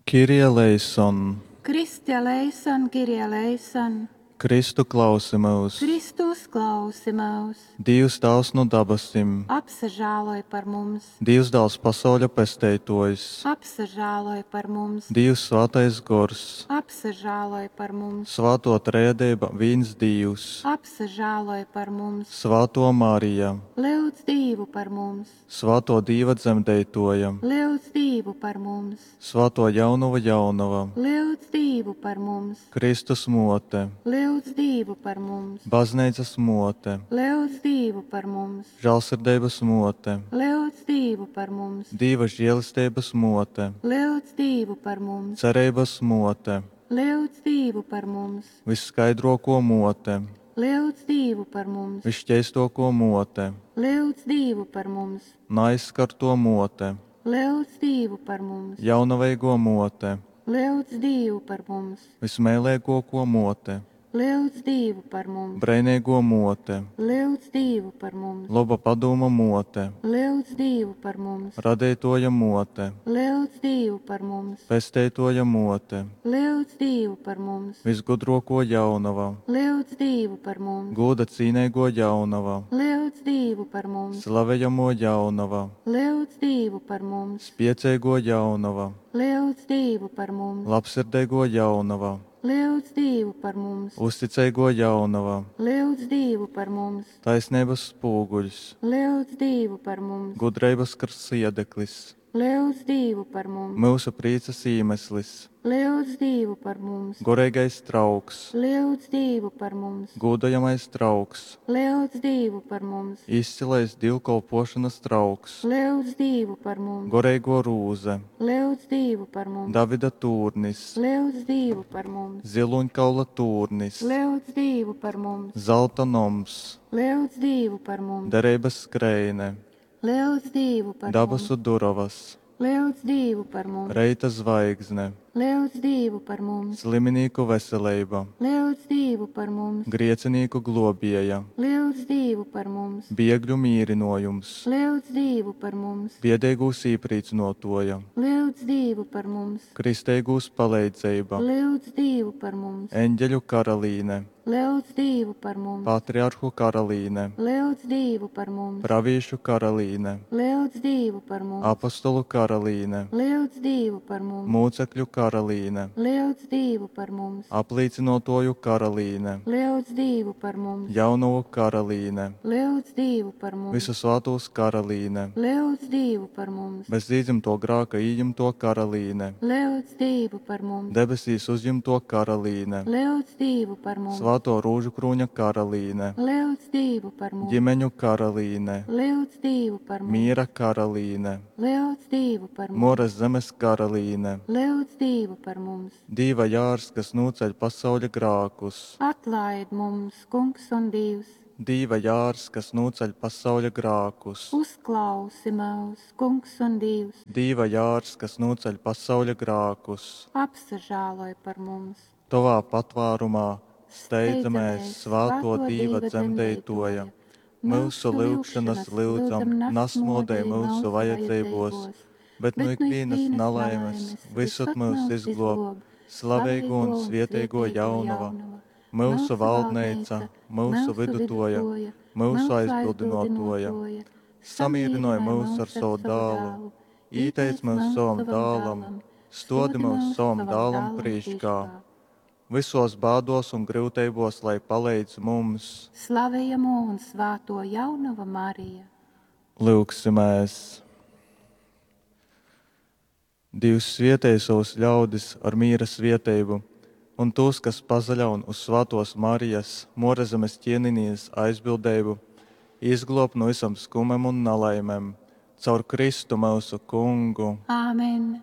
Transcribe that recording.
Kyrie eleison! Christe eleison, Kyrie eleison! Kristu, klausi myus! Kristu, uzklausi myus! Dīvs Tāvs nu dabasim. Apsažāloj par mums! Dīvs Dāls pasauļa Pesteitōjs. Apsažāloj par mums! Dīvs Svātais Gors. Apsažāloj par mums! Svātō Trejadeiba vīns Dīvs. Apsažāloj par mums! Svātō Marija. Lyudz Dīvu par mums! Svātō Dīva Dzemdeitōja. Lyudz Dīvu par mums! Svātō Jaunovu Jaunova. Lyudz Dīvu par mums! Kristus Mōte. Lyudz Dīvu par mums! Bazneicas Mōte. Lyudz Dīvu par mums! Žālsirdeibas Mōte. Lyudz Dīvu par mums! Dīva želesteibas Mōte. Lyudz Dīvu par mums! Cereibas Mōte. Lyudz Dīvu par mums! Vysskaidrōkō Mōte. Lyudz Dīvu par mums! Vysškeistōkō Mōte. Lyudz Dīvu par mums! Naaizskartō Mōte. Lyudz Dīvu par mums! Jaunaveigō Mōte. Lyudz Dīvu par mums! Vysmeileigōkō Mōte. Lyudz Dīvu par mums! Breineigō Mōte. Lyudz Dīvu par mums! Loba Padūma Mōte. Lyudz Dīvu par mums! Radeitōja Mōte. Lyudz Dīvu par mums! Pesteitōja Mōte. Lyudz Dīvu par mums! Vysgudrōkō Jaunova. Lyudz Dīvu par mums! Gūda cīneigō Jaunova. Lyudz Dīvu par mums! Slavejamō Jaunova. Lyudz Dīvu par mums! Spieceigō Jaunova. Lyudz Dīvu par mums! Labsirdeigō Jaunova. Lyudz Dīvu par mums! Uzticeigō Jaunova. Lyudz Dīvu par mums! Taisneibas spūguļs. Lyudz Dīvu par mums! Gudreibas krsiedeklis. Lyudz Dīvu par mums! Myusu prīcas īmeslis. Lyudz Dīvu par mums! Goreigais trauks. Lyudz Dīvu par mums! Gūdojamais trauks. Lyudz Dīvu par mums! Izcylais dīvkolpōšonas trauks. Lyudz Dīvu par mums! Goreigō rūze. Lyudz Dīvu par mums! Davida tūrnis. Lyudz Dīvu par mums! Zylūņkaula tūrnis. Lyudz Dīvu par mums! Zalta noms. Lyudz Dīvu par mums! Dereibas skreine. Lyudz Dīvu par mums! Dabasu durovas. Lyudz Dīvu par mums! Reita zvaigzne. Lyudz Dīvu par mums! Sliminīku veseleiba. Lyudz Dīvu par mums! Griecinīku glōbieja. Lyudz Dīvu par mums! Biegļu mīrynōjums. Lyudz Dīvu par mums! Biedeigūs īprīcynōtōja. Lyudz Dīvu par mums! Kristeigūs paleidzeiba. Lyudz Dīvu par mums! Eņgeļu karalīne. Lyudz Dīvu par mums! Patriarhu karalīne. Lyudz Dīvu par mums! Pravīšu karalīne. Lyudz Dīvu par mums! Apostolu karalīne. Lyudz Dīvu par mums! Mūcekļu karalīne. Lyudz Dīvu par mums! Aplīcynōtōju karalīne. Lyudz Dīvu par mums! Jaunovu karalīne. Lyudz Dīvu par mums! Vysu svātūs karalīne. Lyudz Dīvu par mums! Bez īdzymtō grāka ījimtō karalīne. Lyudz Dīvu par mums! Debesīs uzjimtō karalīne. Lyudz Dīvu par mums! Svātō Rūžukrūņa karalīne. Lyudz Dīvu par mums! Ģimeņu karalīne. Lyudz Dīvu par mums! Mīra karalīne. Lyudz Dīvu par mums! Mōras zemes karalīne. Lyudz Dīvu par mums! Dīva jārs, kas nūceļ pasauļa grākus. Atlaid mums, Kungs un Dīvs! Dīva jārs, kas nūceļ pasauļa grākus. Uzklausi myus, Kungs un Dīvs! Dīva jārs, kas nūceļ pasauļa grākus. Apsažāloj par mums! Tovā patvārumā steidzamēs, svātō Dīva dzemdeitōja. Myusu lyugšonas, lyudzam, nasmōdej myusu vajadzeibōs, bet nu ikvīnas nalaimes vysod myus izglōb, slaveigō un svieteigō Jaunova, myusu valdneica, myusu vydutōja, myusu aizbildynōtōja. Samīrynoj myus ar sovu dālu, īteic myus sovam dālam, stōdi myus sovam dālam prīškā. Vysōs bādōs un gryuteibōs lai paleidz mums. Slavejamō un svātō Jaunova Marija. Lyugsimēs! Dīvs svietej sovus ļaudis ar mīra svieteibu un tūs, kas pasaļaun uz svātōs Marijas, Mōrazemes Kienenīnes aizbildeibu, izglōb nu vysom skumem un nalaimem. Caur Kristu myusu Kungu. Āmen.